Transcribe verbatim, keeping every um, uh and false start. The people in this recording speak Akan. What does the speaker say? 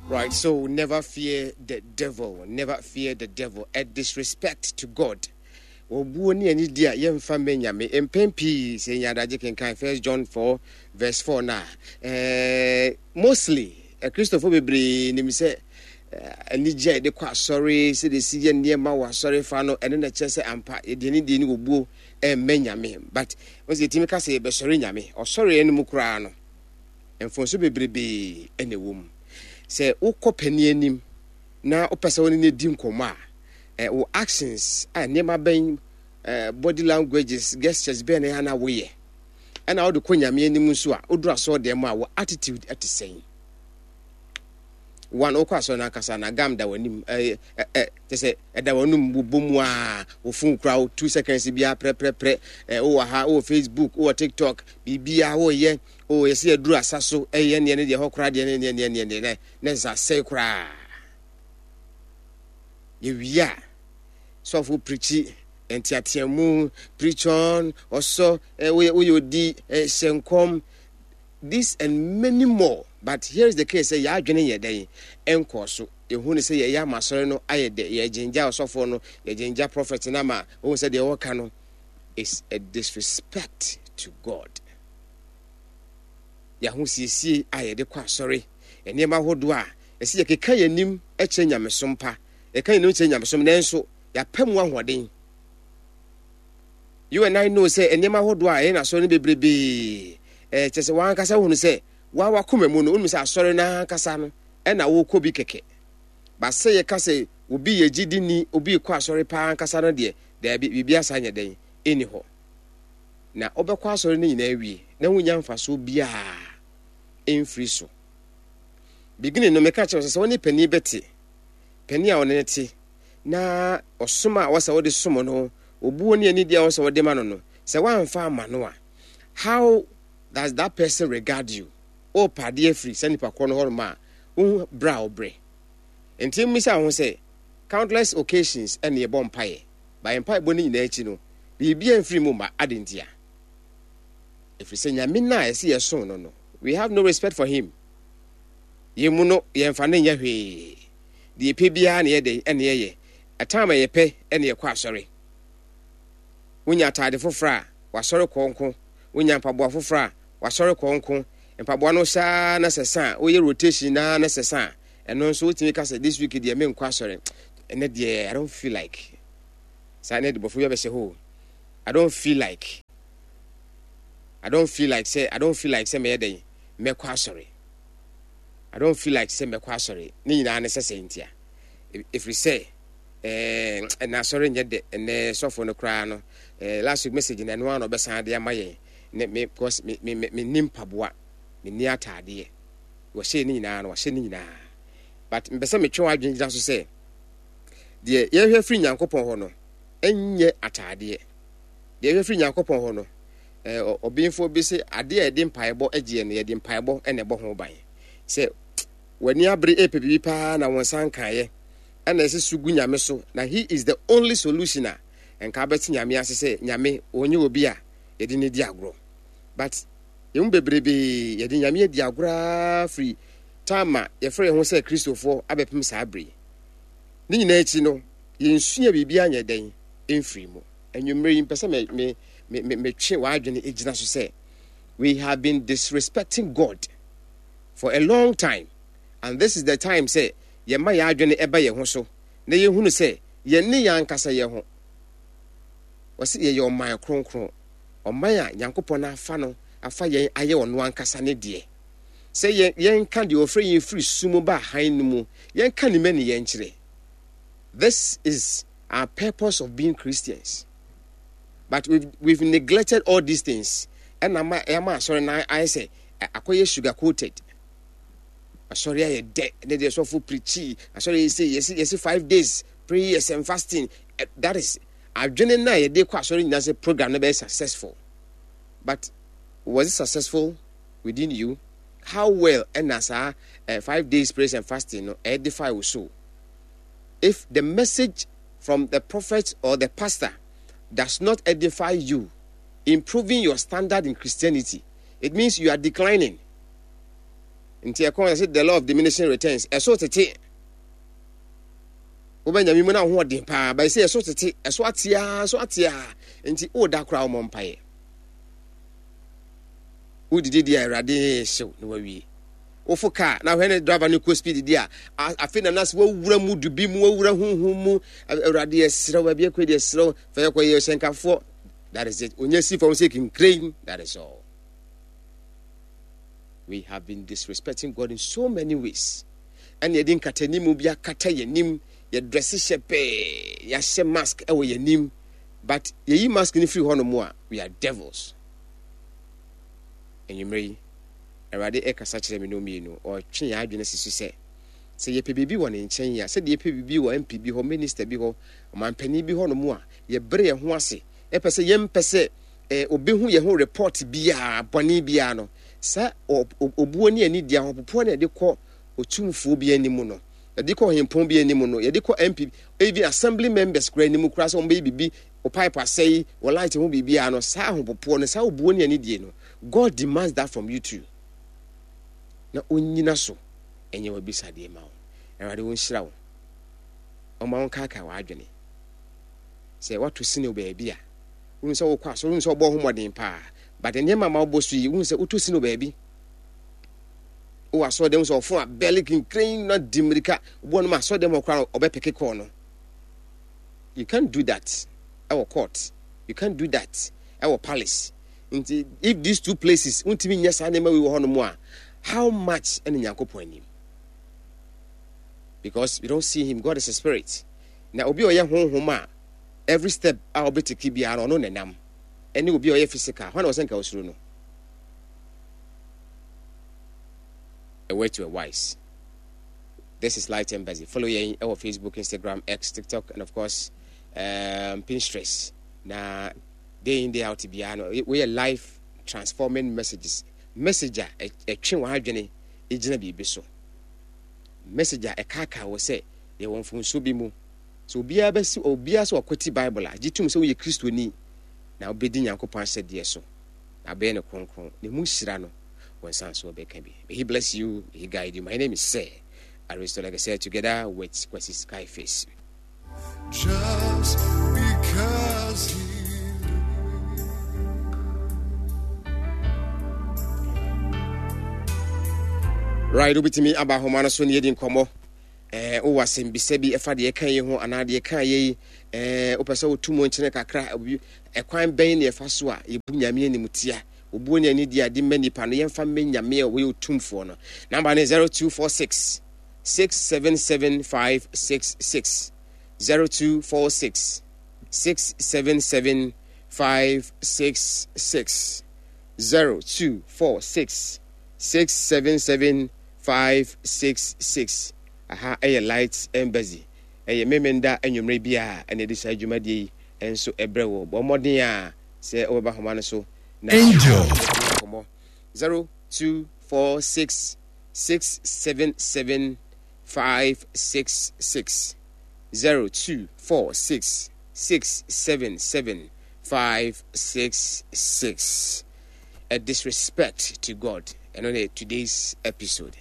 Right, so never fear the devil, never fear the devil. A disrespect to God. Obuo ne anidi a yɛmfa mmɛ Nyame. Mpɛn pii sɛ yɛnya adagye kenkan First John four verse four na eh, mostly Kristofo bebree nim sɛ anigye a yɛde kɔ asɔre, sɛdeɛ ɛsi yɛ nneɛma wɔ asɔre fa no, ɛno na ɛkyerɛ sɛ ampa yɛde anidie ne obuo ɛmmɛ Nyame. But wɔn sɛ yɛtumi ka sɛ yɛbɛsɔre Nyame. Ɔsɔreɛ no mu koraa no, mfonso bebrebee ɛna ɛwɔ mu. Sɛ wokɔ panin anim na wopɛ sɛ wo ne no di nkɔmmɔ a, wo actions a nneɛma bɛn, body languages, gestures bɛn na ɛyɛ na woyɛ, ɛna wode kɔ Nyame anim nso a, woduru asɔre dɛm a, wo attitude ɛte sɛn? One, wokɔ asɔre no ankasa na gam da w'anim, ɛɛ ɛ kyɛ sɛ ɛda w'anum, wobɔ mu a, wo phone kura wo two seconds biara prɛprɛprɛ, ɛ wowɔ ha, wowɔ Facebook, wowɔ TikTok, biribiara woyɛ, o yɛsɛ yɛduru asa so, ɛyɛ neɛ ne deɛ hɔ koraa deɛ ne neɛ neɛ neɛ neɛ ne nsa sɛe koraa. Yɛwie a, sɔfo preach nteateamu, preach on, ɔsɔ, ɛ woyɛ woyɛ odi, ɛ hyɛ nkɔm, this and many more. But here is the case, sɛ yɛadwene yɛ dɛn ɛnkɔɔ so. Yɛhu ne sɛ yɛyɛ ama asɔre no ayɛ dɛ, yɛgyengya ɔsɔfoɔ no, yɛgyengya prophet no ama wohu sɛ deɛ wɔka no is a disrespect to God. Yɛahosiesie a yɛde kɔ asɔre, nneɛma ahodoɔ a ɛsɛ yɛkeka yɛn anim kyerɛ nyamesom pa, yɛka yɛn anim kyerɛ nyamesom, nanso yɛapɛ mu ahoɔden. You and I know sɛ nneɛma ahodoɔ a ɛyɛ n'asɔre no bebrebee, ɛɛ kyerɛ sɛ wɔn ankasa hunu sɛ wɔn wakoma mu no, wɔn sɛ asɔre n'ankasa no ɛna wɔrekɔ bi kɛkɛ. Ba sɛ yɛka sɛ obi yɛ gyidini, obi kɔ asɔre paa ankasa no deɛ, daabi, biribi asa nyɛ dɛn ɛni hɔ. Na ɔbɛkɔ asɔre no nyinaa wie na wonya mfasoɔ biara ɛmfiri so. Beginning no, meka kyerɛ sɛ sɛ wɔne panin bɛte, panin a ɔne ne te na ɔsom a wɔsɛ wɔde som no, obuo ne anidie a wɔsɛ wɔde ma no no, sɛ woamfa ama no a, how does that person regard you? Ɔrepa adeɛ afiri sɛ nipa korɔ no hɔ nom a, wohu berɛ a wobrɛ. Nti mmisa ho sɛ countless occasions ɛne yɛbɔ mpaeɛ, ba yɛn mpaebɔ no nyinaa akyi no, biribi amfiri mu ma ade ntia. Ɛfiri sɛ Nyame no a ɛsɛ yɛsom no no, we have no respect for him. Yɛn mu no, yɛmfa no nyɛ hwee. Deɛ yɛpɛ biara na yɛde ɛne yɛyɛ. Ɛtam a yɛpɛ ɛne yɛkɔ asɔre. Wonya atade foforɔ a, wasɔre kɔ nko. Wonya mpaboa foforɔ a, wasɔre kɔ nko. Mpaboa no saa na sɛsa a, woyɛ rotation na na sɛsa a, ɛno nso wotumi ka sɛ this week deɛ menkɔ asɔre. Ɛnɛ deɛ I don't feel like. Saa ne de bɔfo bi abɛhyɛ hɔ. I don't feel like. I don't feel like sɛ I don't feel like sɛ mɛyɛ dɛn mɛkɔ asɔre. I don't feel like sɛ mɛkɔ asɔre. Ne nyinaa ne sɛ sɛ ntia. Ɛfiri sɛ ɛɛ ɛna asɔre nyɛ dɛ, ɛnɛ sɔfo no koraa no, ɛɛ last week message na ɛno ara na ɔbɛsan de ama yɛn. Ne me because me me me ni mpaboa, me ni ataadeɛ. Wɔhyɛ ne nyinaa no, wɔhyɛ ne nyinaa. But mpɛ sɛ metwe w'adwene gyina so sɛ deɛ yɛhwɛ firi Nyankopɔn hɔ no ɛnyɛ ataadeɛ. Deɛ yɛhwɛ firi Nyankopɔn hɔ no, ɛɛ ɔbɛnfoɔ bi sɛ adeɛ a yɛde mpaebɔ agyeɛ no, yɛde mpaebɔ ɛna ɛbɔ ho ban. Sɛ w'ani abere ɛpɛ biribi paa na wɔn nsa nkaeɛ, ɛna ɛsɛ so gu Nyame so, na he is the only solution a nka abɛte Nyame ase sɛ Nyame ɔnyɛ obi a yɛde ne di agorɔ. But yɛn mu bebrebee yɛde Nyame adi agorɔ firi time a yɛfrɛ yɛn ho sɛ Kristofoɔ abɛpem saa bere. Ne nyinaa akyi no, yɛnsua biribi anyɛ dɛn ɛmfiri mu. Anwummerɛ yi mpɛ sɛ me me me me metwe w'adwene gyina so sɛ we have been disrespecting God for a long time, and this is the time sɛ yɛma yɛn adwene ɛba yɛn ho so na yɛhunu sɛ yɛn ne yɛn ankasa yɛn ho. Wɔsi yɛyɛ ɔman kronkron, ɔman a Nyankopɔn afa no afa yɛn ayɛ ɔno ankasa ne deɛ. Sɛ yɛn yɛnka deɛ ɔfrɛ yɛn firi sum ba hann no mu, yɛnka ne mɛ ne yɛn kyerɛ. This is our purpose of being Christians. But we've, we've neglected all these things. Ɛna ama ɛama asɔre na ayɛ sɛ akɔyɛ sugar coated. Asɔre ayɛ dɛ, ne deɛ sɔfo preach, asɔre yɛ sɛ yɛsi yɛsi five days prayers and fasting. That is adwene na yɛde kɔ asɔre nyinaa sɛ program no bɛyɛ successful. But was it successful within you? How well ɛna saa uh, five days prayers and fasting no edify wo soul? If the message from the prophet or the pastor does not edify you, improving your standard in Christianity, it means you are declining. Nti ɛkɔn sɛ the law of diminishing returns, ɛso tete. Wobɛ Nyame mu na ho ɔden paa, bɛyɛ sɛ ɛso tete, ɛso atea, ɛso atea. Nti woda koraa wɔmmɔ mpaeɛ. Wodidi deɛ, Awurade hyew na wawie. Wofo kaa na hwɛ ne driver no kɔ speed di a, afei na nase wawura mu du bi mu, wawura huhu mu. Awurade, yɛserɛ wo, baabi akɔ deɛ, serɛ wo, fa yɛkɔ yɛ hyɛnkafoɔ. That is it. Onye si fam sɛ kinkren. That is all. We have been disrespecting God in so many ways. Ɛna yɛde nkatanimu bi akata yɛn anim, yɛdrɛse hyɛ pɛɛ, yɛahyɛ mask ɛwɔ yɛn anim, but yɛyi mask no firi hɔ nom a, we are devils. Enyimire yi, Awurade ɛkasa kyerɛ me no mmienu, ɔtwe yɛn adwene si so sɛ sɛ yɛpɛ biribi wɔ ne nkyɛn a, sɛdeɛ yɛpɛ biribi wɔ M P bi hɔ, minister bi hɔ, ɔmanpanin bi hɔ nom a, yɛbrɛ yɛn ho ase, ɛpɛ sɛ yɛmpɛ sɛ eh, obehu yɛn ho report biara bɔne biara no, saa obuo ne ani di ahopopoɔ na yɛde kɔ otumfuo bi anim no, yɛde kɔ ɔhempɔn bi anim no, yɛde kɔ M P, even assembly members kura anim kura sɛ wɔn bɛyɛ biribi, o pipe asɛe, wɔ light ho biribiara no, saa ahopopoɔ no, saa obuo ne ani die no, God demands that from you too. Na onyina so ɛnyɛ wabisadeɛ ma wo. Awurade wo nhyira wo, ɔma wo nkaakae w'adwene sɛ wato sini wɔ baabi a wohu sɛ wokɔ asɔre, wohu sɛ wobɔ ho mmɔden paa, but nneɛma ma wobɔ so yi, wohu sɛ wotɔ sini wɔ baabi. Wowɔ asɔre dɛm sɛ ɔfo a bɛle kinkren na di mmirika wobɔ no ma asɔre dɛm hɔ koraa, ɔbɛpeke kɔɔ no. You can't do that ɛwɔ court, you can't do that ɛwɔ palace. Nti if these two places wontumi nyɛ saa nneɛma wei wɔ hɔ nom a, how much ɛne Nyankopɔn anim? Because we don't see him. God is a spirit. Na obi a ɔyɛ honhom a, every step a ɔbɛtake biara no, ɔno nenam, ɛne obi a ɔyɛ physical, hɔ na ɔsɛ nka osuro no. A word to a wise. This is Light Embassy. Follow yɛn ɛwɔ Facebook, Instagram, X, TikTok and of course um, Pinterest. Na day in, day out biara no, woyɛ life transforming messages, message a ɛtwe wɔn adwene gyina biribi so, message a ɛkaakaa wɔ sɛ yɛwɔ mfomso bi mu sɛ obiara bɛsi obiara sɛ ɔkɔti Bible a gye tum sɛ woyɛ Kristoni na wobɛdi Nyankopɔn ahyɛdeɛ so na wobɛyɛ no kronkron na mu hyira no wɔn nsa nso wɔbɛka bi. May he bless you, may he guide you. My name is Sir Aristo, like I said, together with Kwesi Skyface. Just because he Right, wobɛtumi aba ahoma no so ne yɛdi nkɔmmɔ. ɛɛ wowɔ asɛmbisa bi ɛfa deɛ ɛka yi ho anaa deɛ ɛka yɛ yi, ɛɛ wopɛ sɛ wotu mu nkyene kakra obi, ɛkwan bɛn ne ɛfa so a yɛbu Nyame anim tia, obuo ne ani di ade ma nipa no, yɛmfa mmɛ Nyame a wɔyɛ otumfoɔ no. Number ne zero two four six six seven seven five six six, zero two four six six seven seven five six six, zero two four six six seven seven five six six. Aha ɛyɛ Light Embassy. Ɛyɛ Memenda anwummerɛ bi a ɛna ɛde saa dwumadie yi nso ɛbrɛ wɔ. Bɔ mmɔden a sɛ wobɛba homa no so na Angel. Nkɔmmɔ zero two four six six seven seven five six six, zero two four six six seven seven five six six. A disrespect to God, ɛno ne today's episode.